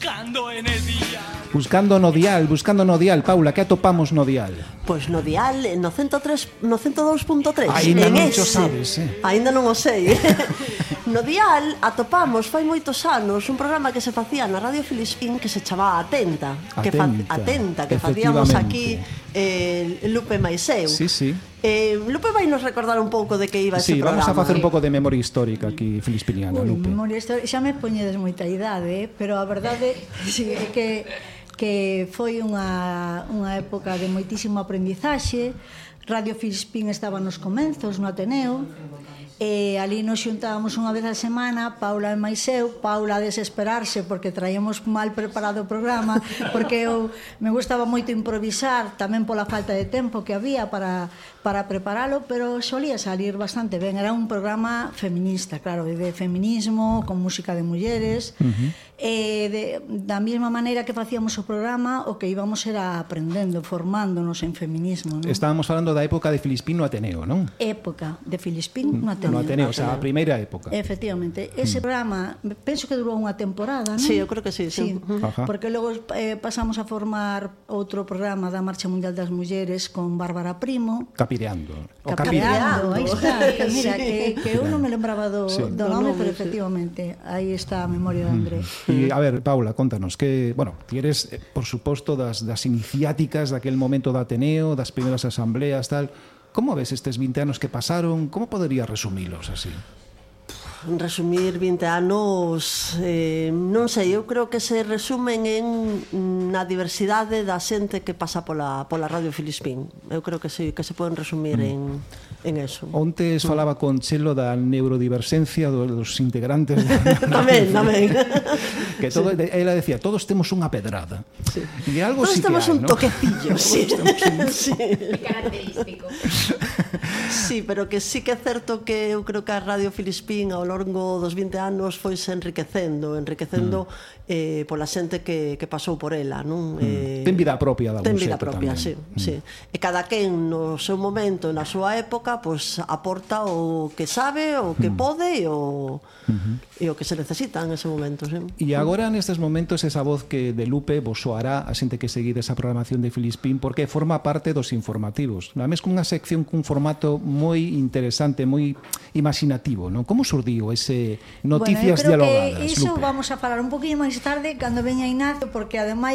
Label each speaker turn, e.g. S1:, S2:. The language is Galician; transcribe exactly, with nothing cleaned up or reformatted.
S1: buscando en el día.
S2: Buscando no dial, buscando no dial. Paula, que atopamos no dial?
S3: Pois no dial, no ciento tres, no ciento dous punto tres.
S2: Ainda non o sabes, eh?
S3: Ainda non o sei. No dial atopamos fai moitos anos un programa que se facía na Radio Filispín que se chamaba Atenta, que fa,
S2: Atenta,
S3: Atenta, que facíamos aquí
S2: efectivamente.
S3: eh, Lupe mais eu.
S2: Sí, sí.
S3: Eh, Lupe vai nos recordar un pouco de que iba ese
S2: Sí,
S3: programa.
S2: vamos a facer un pouco de memoria histórica aquí filispiniana,
S4: Ui,
S2: Lupe.
S4: memoria histórica, xa me poñedes moita idade, eh? Pero a verdade sí, é que que foi unha, unha época de moitísimo aprendizaxe. Radio Filispín estaba nos comenzos no Ateneo, e ali nos xuntábamos unha vez a semana, Paula e máis eu. Paula a desesperarse porque traíamos mal preparado o programa, porque eu me gustaba moito improvisar, tamén pola falta de tempo que había para, para preparalo, pero solía salir bastante ben. Era un programa feminista, claro, de feminismo, con música de mulleres. Uh-huh. E de, da mesma maneira que facíamos o programa, o que íbamos era aprendendo, formándonos en feminismo, non?
S2: Estábamos falando da época de Filispín no Ateneo, non?
S4: Época de Filispín no Ateneo.
S2: No Ateneo, o sea, a primeira época.
S4: Efectivamente, ese mm. programa penso que durou unha temporada, non?
S3: Sí, eu creo que sí, sí.
S4: sí.
S2: Ajá.
S4: Porque logo eh, pasamos a formar outro programa da Marcha Mundial das Mulleres con Bárbara Primo.
S2: Capireando.
S4: O Capireando, aí está. Que mira,
S3: sí.
S4: que, que eu non me lembraba do,
S2: sí.
S4: do nome, pero efectivamente, aí está a memoria de André.
S2: E, a ver, Paula, contanos que, bueno, ti eres, eh, por suposto, das, das iniciáticas daquel momento do Ateneo, das primeiras asambleas, tal. Como ves estes vinte anos que pasaron? Como poderías resumilos así?
S3: Resumir vinte anos, eh, non sei, eu creo que se resumen en na diversidade da xente que pasa pola, pola Radio Filispín. Eu creo que sí, que se poden resumir mm. en, en eso.
S2: Ontes mm. falaba con Chelo da neurodiversencia dos integrantes
S3: tamén, tamén.
S2: Que todo, sí. Ela decía, todos temos unha pedrada.
S3: Sí.
S2: E algo
S3: todos
S2: sí
S3: temos
S2: que hai,
S3: un
S2: ¿no?
S3: toquecillo, sí.
S2: un...
S3: sí.
S5: Característico.
S3: Sí, pero que sí que é certo que eu creo que a Radio Filispín ao longo dos vinte anos foise enriquecendo, enriquecendo mm. eh, pola xente que, que pasou por ela, non?
S2: Mm.
S3: Eh,
S2: ten vida propia de algún
S3: Ten vida
S2: xeito
S3: propia,
S2: tamén.
S3: sí,
S2: Mm.
S3: sí. E cada quen no seu momento, na súa época, pois aporta o que sabe, o que mm. pode e o, mm-hmm. e o que se necesita en ese momento, sí.
S2: E agora nestes momentos esa voz que de Lupe vos soará a xente que seguir esa programación de Filispín porque forma parte dos informativos. Ademais con unha sección cun formato moi interesante, moi imaginativo, non? Como surdiu ese noticias
S4: bueno,
S2: dialogadas,
S4: que iso
S2: Lupe?
S4: Vamos a falar un poquinho máis tarde cando veña Ignacio, porque ademais